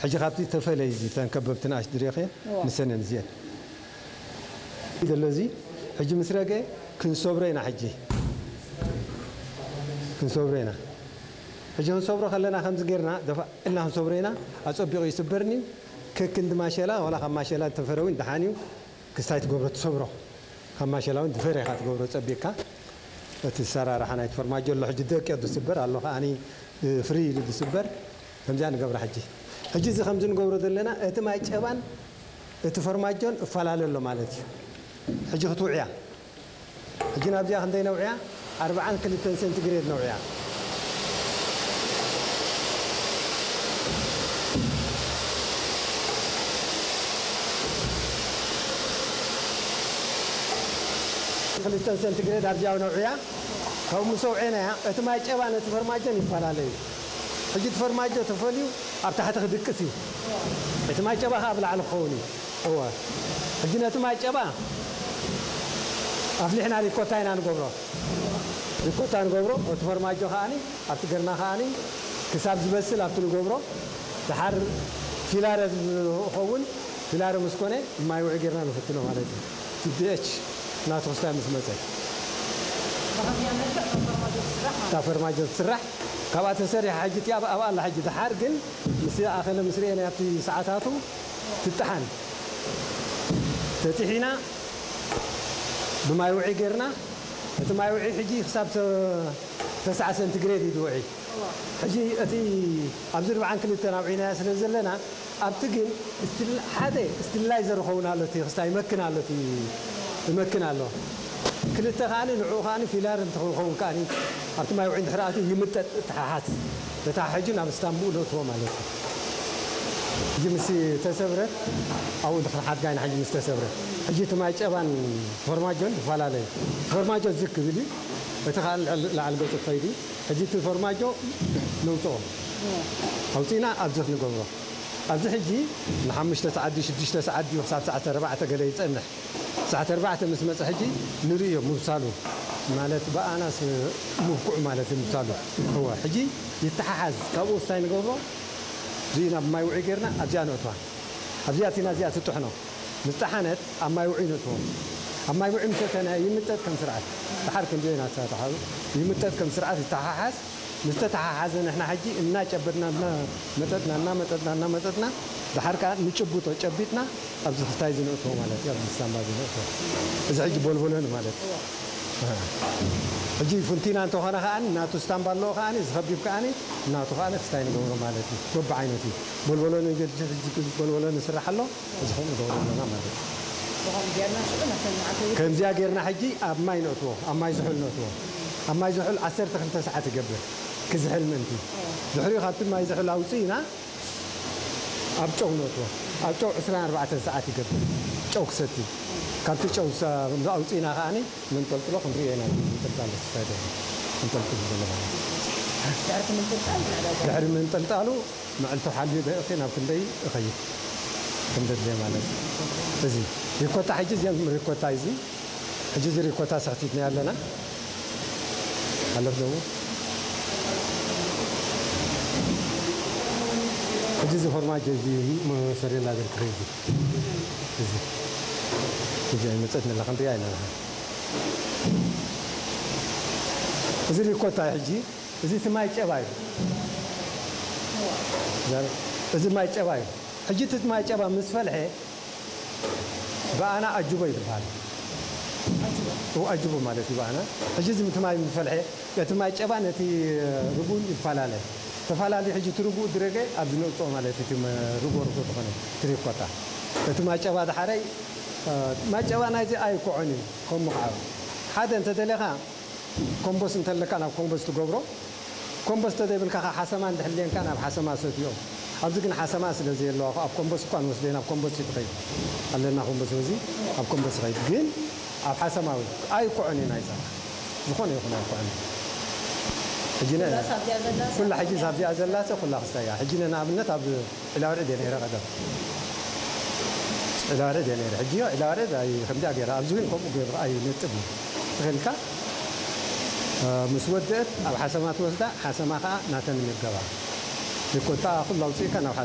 ሕጂ ካብቲ ተፈለይ እዚ ተን ከበብቲ ንኣሽ ድሬኸ እዋ። ንሰነን እዚአን ዘሎ እዚ ሕጂ ምስ ረገ ክንሰብሮ ኢና። ሕጂ ክንሰብሮ ኢና። ሕጂ ክንሰብሮ ከለና ከምዚ ጌርና ደፋ እልና ክንሰብሮ ኢና። ኣጸቢቑ ይስበርኒ። ከክንዲ ማሸላ ዋላ ካብ ማሸላ ዝተፈረውን ደሓን እዩ። ክስታይ ትገብሮ ትሰብሮ። ካብ ማሸላ እውን ዝፈረ ኢኻ ትገብሮ ጸቢቕካ። እቲ ሰራርሓ ናይቲ ፈርማጆ ኣሎ ሕጂ ደቂቑ ዝስበር ኣሎ ከኣኒ ፍሪ ኢሉ ዝስበር። ከምዚኣ ንገብራ ሕጂ። ሕጂ እዚ ከምዚ ንገብሮ ዘለና እቲ ማይ ጨባን እቲ ፈርማጆን እፈላለ ኣሎ ማለት እዩ። ሕጂ ክትውዕያ። ሕጂ ናብዚኣ ክንደይ ነውዕያ? ኣርብዓን ክልተን ሴንቲግሬድ ነውዕያ። ክልተን ሴንቲግሬድ ኣብዚኣ ነውዕያ። ካብኡ ምስ ኣውዐናያ እቲ ማይ ጨባ ነቲ ፈርማጆን ይፈላለ እዩ። ሕጂ እቲ ፈርማጆ ተፈልዩ ኣብ ታሕቲ ክድቅስ እዩ። እቲ ማይ ጨባ ከኣ ኣብ ላዕሊ ክኸውን እዩ። እወ። ሕጂ ነቲ ማይ ጨባ ኣፍሊሕና ሪኮታ ኢና ንገብሮ። ሪኮታ ንገብሮ፣ እቲ ፈርማጆ ከኣኒ ኣብቲ ገርና ከኣኒ ክሳብ ዝበስል ኣብቲ ንገብሮ። ደሓር ፊላረ ዝኸውን፣ ፊላረ ምስ ኮነ ማይ ውዒ ጌርና ንፍትኖ ማለት እዩ። እቲ ቢ ኤች ናቱ ክስታይ ምስ መጸ። ብኸምዚኣ መልክዕ ከም ፈርማጆ ትስራሕ ማለት እታ ፈርማጆ ትስራሕ። ካብኣ ተሰሪሓ ሕጂ እቲኣ ኣብኣ ኣላ ሕጂ። ደሓር ግን ምስ ኣኸለ ምስ ርኤና ኣብቲ ሰዓታቱ ትጠሓን። ተጢሒና ብማይ ውዒ ጌርና፣ እቲ ማይ ውዒ ሕጂ ክሳብ ተ-፣ ተስዓ ሰንቲግሬድ እዩ ዝውዒ። ሕጂ እቲ ኣብዚ ኣርብዓን ክልተን ኣውዒናያ ስለ ዘለና፣ ኣብቲ ግን ስቲል-፣ ሓደ ስቲላይዘር ይኸውን ኣሎ፣ እቲ ክስታይ ይመክን ኣሎ፣ እቲ ይመክን ኣሎ። ክልተ ከኣኒ ንዕኡ ከኣኒ ፊላር እንተኸውን ከኣኒ ኣብቲ ማይ ውዒ እንድሕር ኣትዩ ይምጠጥ፣ ይተሓሓዝ። ተተሓሒዙ ናብ ስታምብኡ ነእትዎ ማለት እዩ። ሕጂ ምስ ተሰብረት ኣብኡ ድሕሪ ሓድጋ ኢና ሕጂ ምስ ተሰብረት። ሕጂ እቲ ማይ ጨባን ፎርማጆን ይፈላለ እዩ። ፎርማጆ ዝግ ክብል እዩ። እቲ ከዓ ልዕሊ ላዕሊ ገጹ ክኸይድ እዩ። ሕጂ እቲ ፎርማጆ ነውፅኦ። ኣውፂእና ኣብዚ ክንገብሮ። ኣብዚ ሕጂ ንሓሙሽተ ሰዓት ድዩ ሽዱሽተ ሰዓት ድዩ ክሳብ ሰዓት ኣርባዕተ ገለ ይፀንሕ። ሰዓት ኣርባዕተ ምስ መፀ ሕጂ ንርእዮ ምብሳሉ ማለት ብኣናስ ምብኩዕ ማለት እዩ ምብሳሉ። እወ፣ ሕጂ ይተሓሓዝ። ካብኡ እንታይ ንገብሮ? ርኢና ብማይ ውዒ ጌርና ኣብዚኣ ነእትዋ። ኣብዚኣ እቲና እዚኣ ትጥሕኖ። ምስ ጠሓነት ኣብ ማይ ውዒ ነእትዎ። ኣብ ማይ ውዒ ምስ ኣተና ይምጠጥ ከም ስርዓት። ደሓር ክንደዮ ኢና ተተሓዙ። ይምጠጥ ከም ስርዓት ይተሓሓዝ። ምስ ተተሓሓዘ ንሕና ሕጂ እናጨበጥና እናመጠጥና፣ እናመጠጥና፣ እናመጠጥና፣ ደሓር ከኣ ንጭብጦ ጨቢጥና ኣብዚ ክስታይ ዝነእትዎ ማለት እዩ፣ ኣብዚ ስታምባ ዝነእትዎ። እዚ ሕጂ ቦልቦሎኒ ማለት እዩ። ኣሃ። ሕጂ ፉንቲና እንተኾነ ከኣ ናቱ ስታምባ ኣለዎ ከኣ፣ እዚ ከቢብ ከኣ ናቱ ከኣ ክስታይ ንገብሮ ማለት እዩ። በብዓይነቱ እዩ። ቦልቦሎኒ ገድሊ ሕጂ ቦልቦሎኒ ይስራሕ ኣሎ። እዚ ከምኡ ንገብሮ ኣለና ማለት እዩ። ብኸምኡ ጌርና ሽዑ ነተን መዓልቲ ከምዚኣ ጌርና ሕጂ ኣብ ማይ ነእትዎ፣ ኣብ ማይ ዝሑል ነእትዎ። ኣብ ማይ ዝሑል ዓሰርተ ክልተ ሰዓት ይገብር ክዝሕል ምእንቲ። ድሕሪኡ ካብቲ ማይ ዝሑል ኣውፅእና ኣብ ጨው ነእትዎ። ኣብ ጨው ዕስራን ኣርባዕተን ሰዓት ይገብር ጨው ክሰቲ። ካብቲ ጨው ሳ-፣ ኣውፅእና ከኣኒ መንጠልጥሎ ክንሪኦ ኢና። መንጠልጣሎ ክሳደ መንጠልጥሎ ዘሎ ማለት እዩ። ድሕሪ እቲ ምንጥልጣል ንዕዳጋ። ድሕሪ ምንጥልጣሉ መዕልቱ ሓልዩ ደቂቕ ናብ ክንደይ እኸይድ ከም ዘድልየ ማለት እዩ። እዚ ሪኮታ ሕጂ እዚኦም ሪኮታ እዚ ሕጂ እዚ ሪኮታ ሰኽቲትና ኣለና። ኣለፍ ደሞ ሕጂ እዚ ፎርማጆ እዚ ሞሰሬላ ዝርክረ እዚ እዚ እዚ ኣይመጸት ንላ ክንሪኣ ኣለና። እዚ ሪኮታ ሕጂ እዚ እቲ ማይ ጨባ እዩ። ዘር-፣ እዚ ማይ ጨባ እዩ። ሕጂ እቲ ማይ ጨባ ምስ ፈልሐ ብኣና ኣጅቦ ይበሃል። እው፣ ኣጅቦ ማለት እዩ ብኣና። ሕጂ እዚ እቲ ማይ ምስ ፈልሐ፣ እቲ ማይ ጨባ ነቲ ርጉን ይፈላለ። ተፈላለዩ ሕጂ እቲ ርጉእ ድረገ ኣብዚ ነውፅኦ ማለት እዩ። እቲ መ-፣ ርጎ ርጎ ዝኾነ ትሪኮታ። እቲ ማይ ጨባ ድሓረይ፣ እ፣ ማይ ጨባ ናይዚ ኣይኮዖን እዩ። ከም ምኽዓብ ሓደ እንተደለኻ ኮምቦስ እንተለካ ናብ ኮምቦስ ትገብሮ። ኮምቦስ እንተዘይብልካ ከ ሓሰማ እንድሕልየንካ ናብ ሓሰማ ሰትዮ። ኣብዚ ግን ሓሰማ ስለ ዘየለዋ እኮ ኣብ ኮምቦስ እኳ ንወስደ ናብ ኮምቦስ እዩ ትኸይድ። ኣለና ኮምቦስ በዚ ኣብ ኮምቦስ ይኸይድ። ግን ኣብ ሓሰማ እውን ኣይኮዕን እዩ ናይዛ። ዝኾነ ይኹን ኣይኮዕን። ሕጂ ነ-፣ ኩላስ ኣብዚኣ ዘላ ኩላ ሕጂ ኣብዚኣ ዘላ ሰብ ኩላ ክስታይ እያ። ሕጂ ነ-፣ ንኣብነት ኣብ ዒላወርዕድ እየ ነይረ ቀደም። ዒላወርዕድ እየ ነይረ። ሕጂ ዒላወርዕድ ኣይ-፣ ከምዚኣ ገይራ ኣብዚ እውን ከምኡ ገይሩ ኣይነጥብ እዩ። ትኽእልካ፣ እ፣ ምስ ወደአት ኣብ ሓሰማ ትወስዳ፣ ሓሰማ ከዓ ናተን ይምገባ። ይኮታ ኩሉ ኣውፅእካ ናብ